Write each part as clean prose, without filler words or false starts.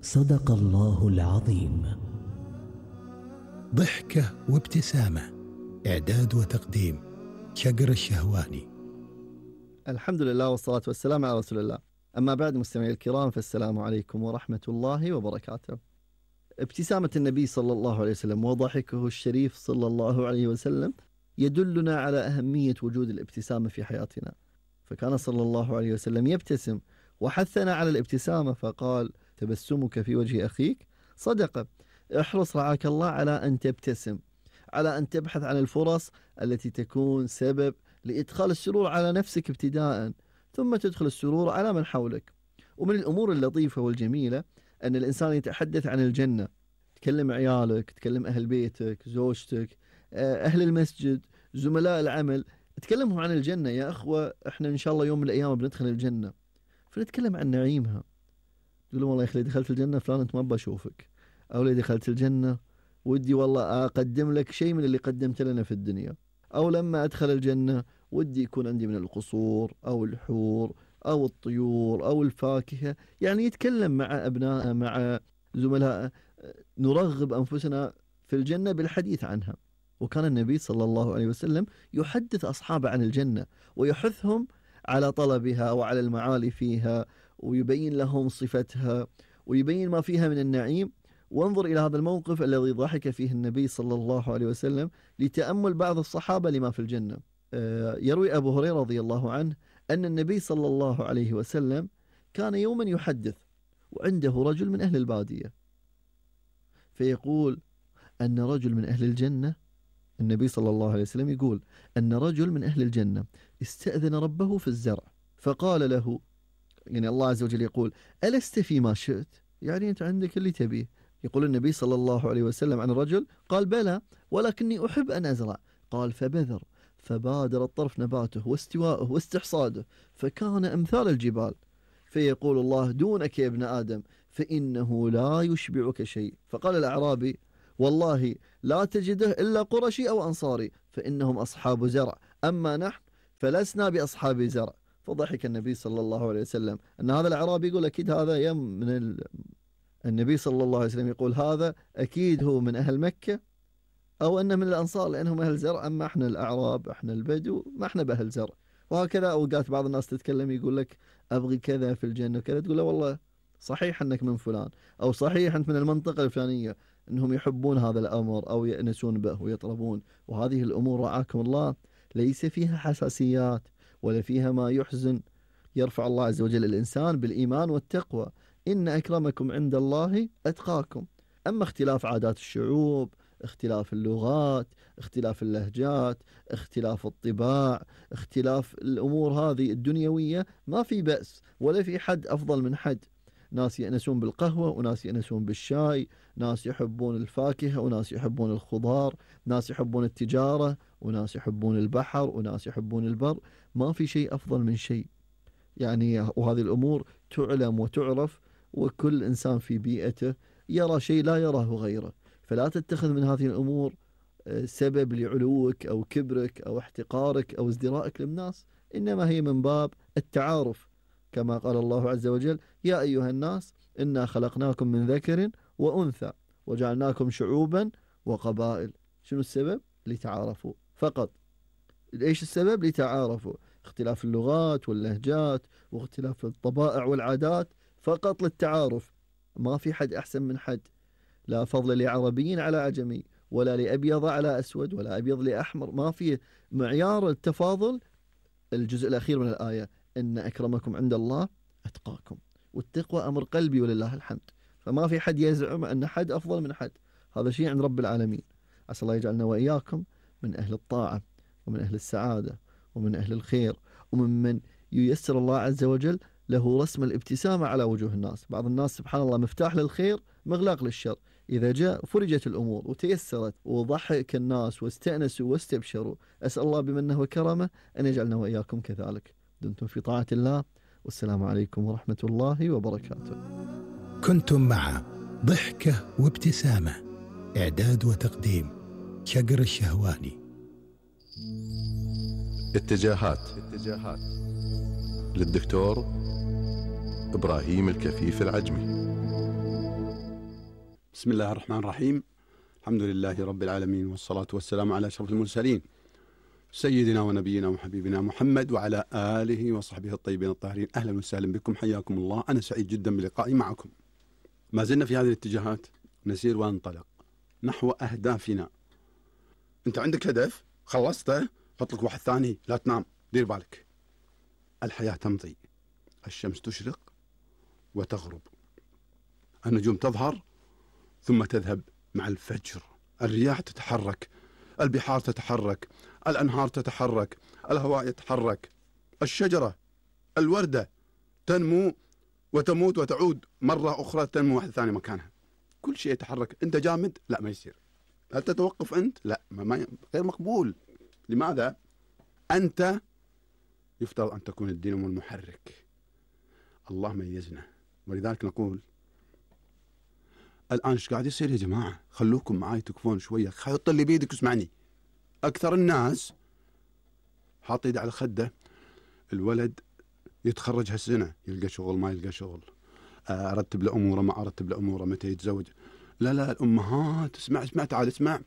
صدق الله العظيم. ضحكة وابتسامة، إعداد وتقديم شقر الشهواني. الحمد لله والصلاة والسلام على رسول الله. أما بعد، مستمعي الكرام، فالسلام عليكم ورحمة الله وبركاته. ابتسامة النبي صلى الله عليه وسلم وضحكه الشريف صلى الله عليه وسلم يدلنا على أهمية وجود الابتسامة في حياتنا، فكان صلى الله عليه وسلم يبتسم وحثنا على الابتسامة، فقال: تبسمك في وجه أخيك صدقة. احرص رعاك الله على أن تبتسم، على أن تبحث عن الفرص التي تكون سبب لإدخال السرور على نفسك ابتداء، ثم تدخل السرور على من حولك. ومن الأمور اللطيفة والجميلة أن الإنسان يتحدث عن الجنة، تكلم عيالك، تكلم أهل بيتك، زوجتك، أهل المسجد، زملاء العمل، تكلمهم عن الجنة. يا أخوة، إحنا إن شاء الله يوم من الأيام بندخل الجنة، فنتكلم عن نعيمها. تقول والله يا أخي دخلت الجنة فلان أنت ما بشوفك، أو لي دخلت الجنة ودي والله أقدم لك شيء من اللي قدمت لنا في الدنيا، أو لما أدخل الجنة ودي يكون عندي من القصور أو الحور أو الطيور أو الفاكهة. يعني يتكلم مع أبنائه، مع زملائه، نرغب أنفسنا في الجنة بالحديث عنها. وكان النبي صلى الله عليه وسلم يحدث أصحابه عن الجنة ويحثهم على طلبها وعلى المعالي فيها، ويبين لهم صفتها ويبين ما فيها من النعيم. وانظر إلى هذا الموقف الذي ضحك فيه النبي صلى الله عليه وسلم لتأمل بعض الصحابة لما في الجنة. يروي أبو هريرة رضي الله عنه أن النبي صلى الله عليه وسلم كان يوما يحدث وعنده رجل من أهل البادية، فيقول أن رجل من أهل الجنة، النبي صلى الله عليه وسلم يقول أن رجل من أهل الجنة استأذن ربه في الزرع، فقال له، يعني الله عز وجل يقول: ألست فيما شئت؟ يعني أنت عندك اللي تبيه. يقول النبي صلى الله عليه وسلم عن الرجل: قال: بلى، ولكني أحب أن أزرع. قال: فبذر، فبادر الطرف نباته واستواءه واستحصاده، فكان أمثال الجبال. فيقول الله: دونك يا ابن آدم، فإنه لا يشبعك شيء. فقال الأعرابي: والله لا تجده إلا قرشي أو أنصاري، فإنهم أصحاب زرع، أما نحن فلسنا بأصحاب زرع. فضحك النبي صلى الله عليه وسلم أن هذا الأعرابي يقول أكيد هذا النبي صلى الله عليه وسلم يقول هذا أكيد هو من أهل مكة أو أنه من الأنصار لأنهم أهل زرع، أما إحنا الأعراب، إحنا البدو، ما إحنا بأهل زرع. وهكذا أوقات بعض الناس تتكلم يقول لك أبغي كذا في الجنة وكذا، تقول له والله صحيح أنك من فلان، أو صحيح أنت من المنطقة الفلانية، أنهم يحبون هذا الأمر أو يأنسون به ويطلبون. وهذه الأمور رعاكم الله ليس فيها حساسيات ولا فيها ما يحزن. يرفع الله عز وجل الإنسان بالإيمان والتقوى: إن أكرمكم عند الله أتقاكم. أما اختلاف عادات الشعوب، اختلاف اللغات، اختلاف اللهجات، اختلاف الطباع، اختلاف الأمور هذه الدنيوية، ما في بأس ولا في حد أفضل من حد. ناس يأنسون بالقهوة وناس يأنسون بالشاي، ناس يحبون الفاكهة وناس يحبون الخضار، ناس يحبون التجارة وناس يحبون البحر وناس يحبون البر. ما في شيء أفضل من شيء يعني. وهذه الأمور تعلم وتعرف، وكل إنسان في بيئته يرى شيء لا يراه غيره. فلا تتخذ من هذه الأمور سبب لعلوك أو كبرك أو احتقارك أو ازدرائك للناس، إنما هي من باب التعارف، كما قال الله عز وجل: يا أيها الناس إنا خلقناكم من ذكر وأنثى وجعلناكم شعوبا وقبائل. شنو السبب؟ لتعارفوا فقط. إيش السبب؟ لتعارفوا. اختلاف اللغات واللهجات واختلاف الطبائع والعادات فقط للتعارف. ما في حد أحسن من حد، لا فضل لعربي على عجمي، ولا لأبيض على أسود، ولا أبيض لأحمر. ما في معيار التفاضل. الجزء الأخير من الآية: إن أكرمكم عند الله أتقاكم. والتقوى أمر قلبي ولله الحمد، فما في حد يزعم أن حد أفضل من حد، هذا شيء عند رب العالمين. عسى الله يجعلنا وإياكم من أهل الطاعة ومن أهل السعادة ومن أهل الخير، ومن ييسر الله عز وجل له رسم الابتسامة على وجوه الناس. بعض الناس سبحان الله مفتاح للخير مغلاق للشر، إذا جاء فرجت الأمور وتيسرت وضحك الناس واستأنسوا واستبشروا. أسأل الله بمنه وكرمه أن يجعلنا وإياكم كذلك. دمتم في طاعة الله، والسلام عليكم ورحمة الله وبركاته. كنتم مع ضحكة وابتسامة، إعداد وتقديم شقر الشهواني. اتجاهات للدكتور إبراهيم الكفيف العجمي. بسم الله الرحمن الرحيم. الحمد لله رب العالمين، والصلاة والسلام على أشرف المرسلين سيدنا ونبينا وحبيبنا محمد وعلى آله وصحبه الطيبين الطاهرين. أهلا وسهلا بكم، حياكم الله. أنا سعيد جدا بلقائي معكم. ما زلنا في هذه الاتجاهات نسير وننطلق نحو أهدافنا. أنت عندك هدف خلصته، حط لك واحد ثاني، لا تنام، دير بالك. الحياة تمضي، الشمس تشرق وتغرب، النجوم تظهر ثم تذهب مع الفجر، الرياح تتحرك، البحار تتحرك، الأنهار تتحرك، الهواء يتحرك، الشجرة الوردة تنمو وتموت وتعود مرة أخرى تنمو واحدة ثانية مكانها. كل شيء يتحرك. أنت جامد؟ لا، ما يصير. هل تتوقف أنت؟ لا، غير مقبول. لماذا؟ أنت يفترض أن تكون الدينامو المحرك. الله ميزنا، ولذلك نقول الآن ايش قاعد يصير يا جماعة؟ خلوكم معاي تكفون شوية، حط اللي بيدك واسمعني. أكثر الناس حاط يده على خده، الولد يتخرج هالسنة، يلقى شغل ما يلقى شغل، أرتب له أموره ما أرتب له أموره، متى يتزوج. لا الأمهات اسمع تعال اسمع،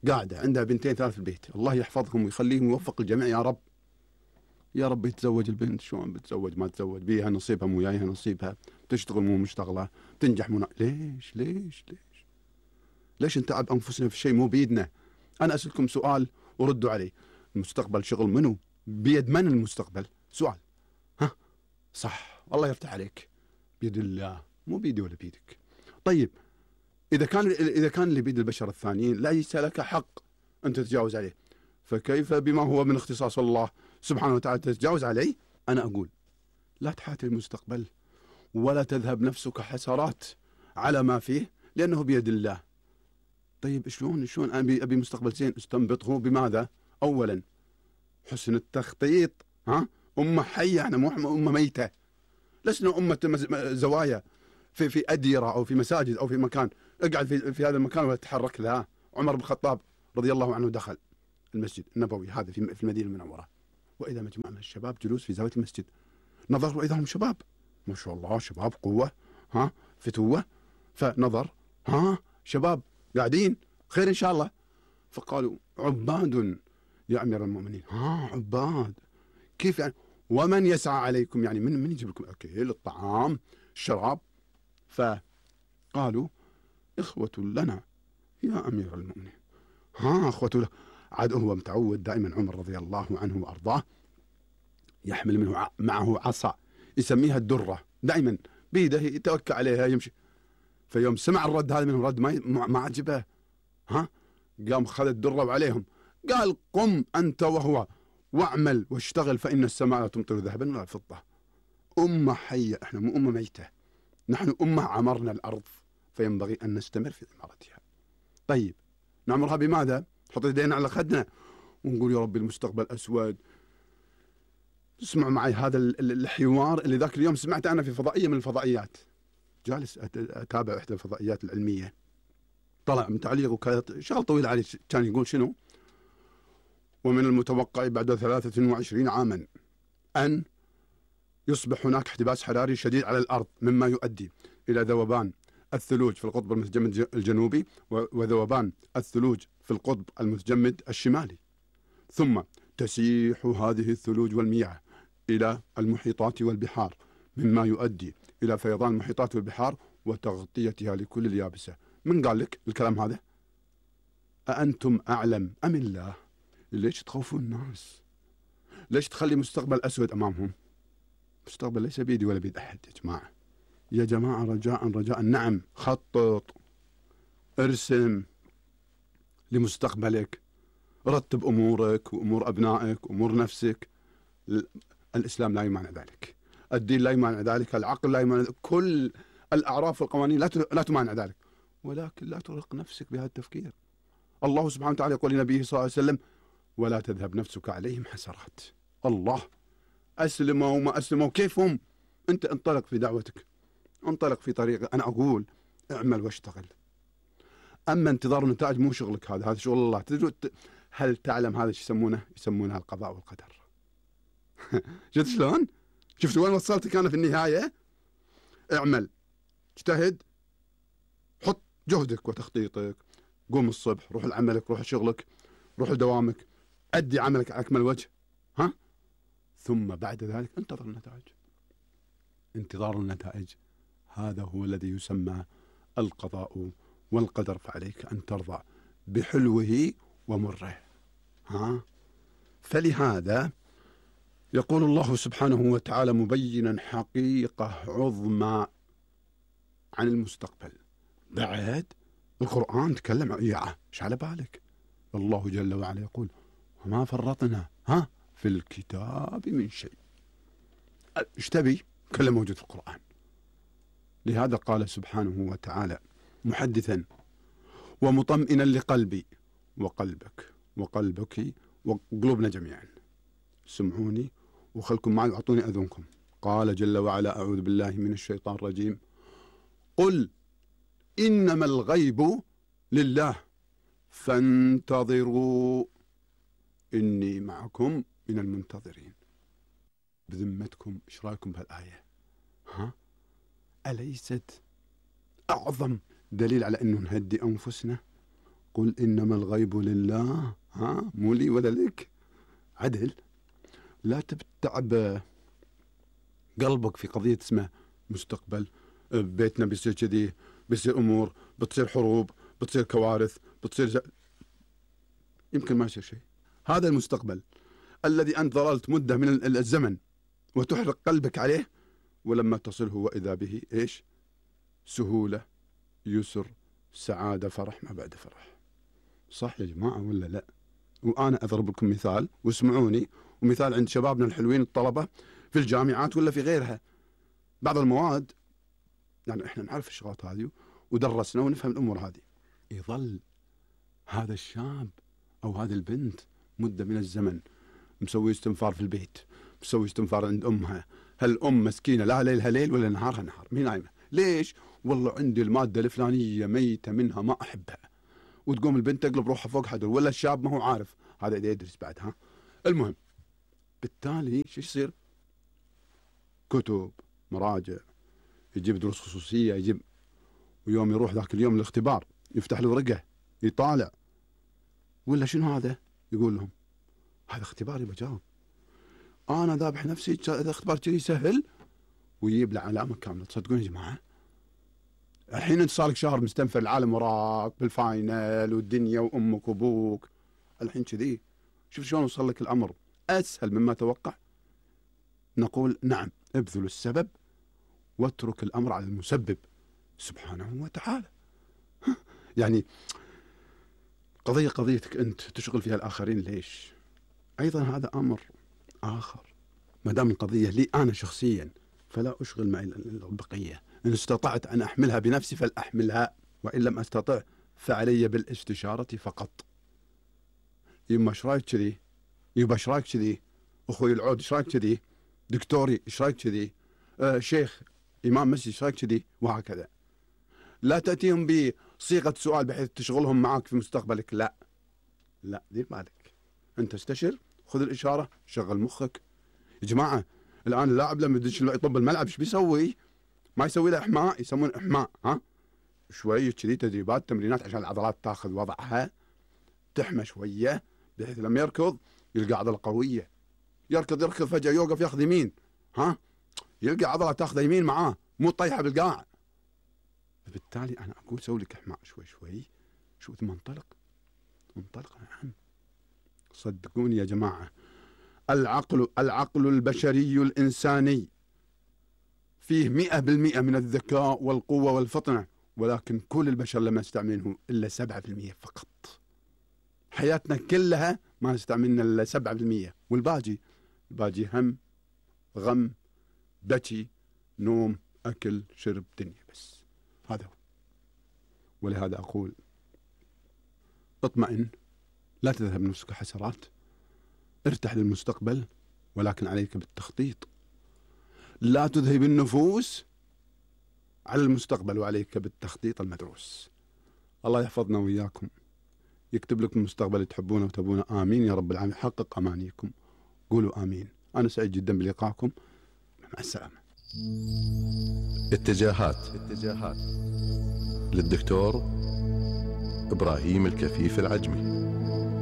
قاعدة عندها بنتين ثلاث في البيت، الله يحفظهم ويخليهم ويوفق الجميع يا رب. يا رب يتزوج البنت، شلون بتزوج ما تزوج، بيها نصيبها مو جايها نصيبها، تشتغل مو مشتغلة، تنجح مو ليش نتعب أنفسنا في شيء مو بيدنا؟ أنا أسألكم سؤال وردوا عليه. المستقبل شغل منو؟ بيد من المستقبل؟ سؤال. ها صح، الله يفتح عليك، بيد الله، مو بيدي ولا بيدك. طيب إذا كان اللي بيد البشر الثانيين ليس لك حق أن تتجاوز عليه، فكيف بما هو من اختصاص الله سبحانه وتعالى تتجاوز عليه؟ أنا أقول لا تحاتي المستقبل ولا تذهب نفسك حسرات على ما فيه، لأنه بيد الله. طيب شلون أبي مستقبل زين؟ استنبطه بماذا؟ أولا حسن التخطيط. أمة حية، احنا مو أمة ميتة، لسنا أمة زوايا في أديرة أو في مساجد أو في مكان، اقعد في هذا المكان ولا تتحرك. لا، عمر بن الخطاب رضي الله عنه دخل المسجد النبوي هذا في المدينة المنورة، وإذا مجموعة من الشباب جلوس في زاوية المسجد، نظر وإذا هم شباب ما شاء الله، شباب قوة، فتوة، فنظر شباب قاعدين خير إن شاء الله، فقالوا عباد يا أمير المؤمنين. عباد كيف يعني؟ ومن يسعى عليكم؟ يعني من يجيب لكم أكل الطعام الشراب؟ فقالوا إخوة لنا يا أمير المؤمنين. إخوة له. عاد هو متعود دائما عمر رضي الله عنه وأرضاه يحمل معه عصا يسميها الدرة، دائما بيده يتوكل عليها يمشي. فيوم سمع الرد هذا منهم، رد ما عجبه، قام خذ الدرة وعليهم، قال قم أنت وهو واعمل واشتغل فإن السماء لا تمطر ذهبا ولا فضة. أمة حية، احنا مو أمة ميتة، نحن أمة عمرنا الأرض، فينبغي أن نستمر في عمارتها. طيب نعمرها بماذا؟ نحط يدينا على خدنا ونقول يا ربي المستقبل أسود. اسمعوا معي هذا الحوار اللي ذاك اليوم سمعت أنا في فضائية من الفضائيات، جالس أتابع إحدى الفضائيات العلمية، طلع من تعليق وكانت شغل طويل عليه، كان يقول شنو؟ ومن المتوقع بعد 23 عاما أن يصبح هناك احتباس حراري شديد على الأرض، مما يؤدي إلى ذوبان الثلوج في القطب المتجمد الجنوبي وذوبان الثلوج في القطب المتجمد الشمالي، ثم تسيح هذه الثلوج والمياه إلى المحيطات والبحار، مما يؤدي إلى فيضان المحيطات والبحار وتغطيتها لكل اليابسة. من قال لك الكلام هذا؟ أأنتم أعلم أم الله؟ ليش تخوفون الناس؟ ليش تخلي مستقبل أسود أمامهم؟ مستقبل ليس بيدي ولا بيد أحد يا جماعة. يا جماعة رجاء نعم، خطط، ارسم لمستقبلك، رتب أمورك وأمور أبنائك وأمور نفسك. الإسلام لا يمانع ذلك، الدين لا يمانع ذلك، العقل لا يمانع ذلك، كل الأعراف والقوانين لا تمانع ذلك، ولكن لا ترهق نفسك بهذا التفكير. الله سبحانه وتعالى يقول لنبيه صلى الله عليه وسلم ولا تذهب نفسك عليهم حسرات. الله، أسلموا وما أسلموا كيفهم، أنت انطلق في دعوتك، انطلق في طريقك. أنا أقول اعمل واشتغل. أما انتظار النتائج مو شغلك، هذا شغل الله. هل تعلم هذا ايش يسمونه؟ يسمونها القضاء والقدر. شفت شلون؟ شفت وين وصلتك أنا في النهاية؟ اعمل، اجتهد، حط جهدك وتخطيطك، قوم الصبح، روح لعملك، روح لشغلك، روح لدوامك، أدي عملك على أكمل وجه، ها؟ ثم بعد ذلك انتظر النتائج. انتظار النتائج هذا هو الذي يسمى القضاء والقدر، فعليك أن ترضى بحلوه ومره. ها؟ فلهذا يقول الله سبحانه وتعالى مبينا حقيقة عظمى عن المستقبل. بعد القرآن تكلم ايش على بالك؟ الله جل وعلا يقول وما فرطنا في الكتاب من شيء. ايش تبي؟ كله موجود في القرآن. لهذا قال سبحانه وتعالى محدثا ومطمئنا لقلبي وقلبك وقلبك وقلوبنا جميعا، سمعوني وخلكم معي واعطوني اذنكم. قال جل وعلا اعوذ بالله من الشيطان الرجيم قل انما الغيب لله فانتظروا اني معكم من المنتظرين. بذمتكم ايش رايكم بهالايه؟ أليست أعظم دليل على أنه نهدي أنفسنا؟ قل إنما الغيب لله، مو لي ولا لك. عدل. لا تتعب قلبك في قضية اسمها مستقبل، بيتنا بيصير كذي، بيصير أمور، بتصير حروب، بتصير كوارث، بتصير يمكن ما يصير شيء. هذا المستقبل الذي أنت ظللت مدة من الزمن وتحرق قلبك عليه، ولما تصله وإذا به إيش؟ سهولة، يسر، سعادة، فرح ما بعد فرح. صح يا جماعة ولا لا؟ وأنا أضرب لكم مثال واسمعوني، ومثال عند شبابنا الحلوين الطلبة في الجامعات ولا في غيرها. بعض المواد يعني إحنا نعرف الشغلات هذه ودرسنا ونفهم الأمور هذه، يظل هذا الشاب أو هذه البنت مدة من الزمن مسوي استنفار في البيت، مسوي استنفار عند أمها. هالأم مسكينة لا ليلها ليل ولا نهارها نهار، مين نايمة؟ ليش؟ والله عندي المادة الفلانية ميتة منها ما أحبها. وتقوم البنت تقلب روحها فوق حدر، ولا الشاب ما هو عارف هذا إذا يدرس بعد. المهم بالتالي شو يصير؟ كتب، مراجع، يجيب دروس خصوصية، يجيب، ويوم يروح ذاك اليوم الاختبار يفتح له ورقة يطالع، ولا شنو هذا؟ يقول لهم هذا اختباري بجاوب، أنا ذابح نفسي إذا اختبار كذي سهل، ويجيب له علامة كاملة. تصدقون يا جماعة؟ الحين أنت صار لك شهر مستنفر، العالم وراك بالفاينل والدنيا وأمك وأبوك، الحين كذي شوف شلون وصل لك الأمر أسهل مما توقع. نقول نعم، ابذل السبب واترك الأمر على المسبب سبحانه وتعالى. يعني قضيتك أنت تشغل فيها الآخرين ليش؟ أيضا هذا أمر آخر. ما دام القضية لي أنا شخصيا فلا أشغل معي البقية. إن استطعت أن أحملها بنفسي فلأحملها، وإن لم أستطع فعلي بالاستشارة فقط. يما إيش رايك كذي؟ يبا إيش رايك كذي؟ أخوي العود إيش رايك كذي؟ دكتوري إيش رايك كذي؟ شيخ إمام مسجد إيش رايك كذي؟ وهكذا. لا تأتيهم بصيغة سؤال بحيث تشغلهم معك في مستقبلك. لا دير بالك، أنت استشر، خذ الإشارة، شغل مخك. يا جماعة الآن اللاعب لما يدش يطب الملعب ايش بيسوي؟ ما يسوي له إحماء، يسمونه إحماء. شوية كذي تدريبات، تمرينات عشان العضلات تاخذ وضعها، تحمى شوية بحيث لما يركض يلقى عضلة قوية. يركض فجأة يوقف ياخذ يمين، يلقى عضلة تاخذ يمين معاه، مو طيحة بالقاع. بالتالي أنا أقول سوي لك إحماء شوي شو ثم انطلق. نعم صدقوني يا جماعة، العقل البشري الإنساني فيه 100% من الذكاء والقوة والفطنة، ولكن كل البشر لم يستعملونه إلا 7% فقط. حياتنا كلها ما استعملنا إلا 7%، والباقي هم، غم، بكي، نوم، أكل، شرب، دنيا، بس هذا هو. ولهذا أقول اطمئن، لا تذهب نفسك حسرات، ارتح للمستقبل، ولكن عليك بالتخطيط. لا تذهب النفوس على المستقبل، وعليك بالتخطيط المدروس. الله يحفظنا وإياكم، يكتب لكم المستقبل تحبونه وتبونه. آمين يا رب العالمين. حقق أمانيكم، قولوا آمين. أنا سعيد جدا بلقائكم، مع السلامة. اتجاهات للدكتور إبراهيم الكفيف العجمي.